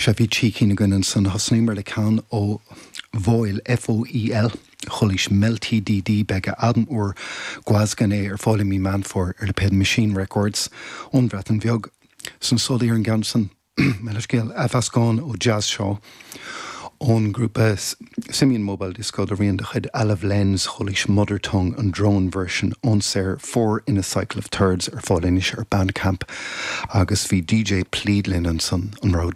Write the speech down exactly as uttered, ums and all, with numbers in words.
Sea bhí trí cinn againn ansan thosnaíomar le ceann ó Foel FOEL Chualaís Mel TDD beidh a albam úr Gwasgan é ar fáil i mí Meán Fómhair ar lipéad Machine Records ón Bhreatain Bheag san sólaí ar an gceann san scéal athmheascán ó Jazz Shaw ón grúpa Simian Mobile Disco de rian de chuid Alav Lens chualaís Mother Tongue an drone version ón saothar Four in a Cycle of Thirds ar fáil anois ar Bandcamp agus bhí DJ Pleadlin ansan an rud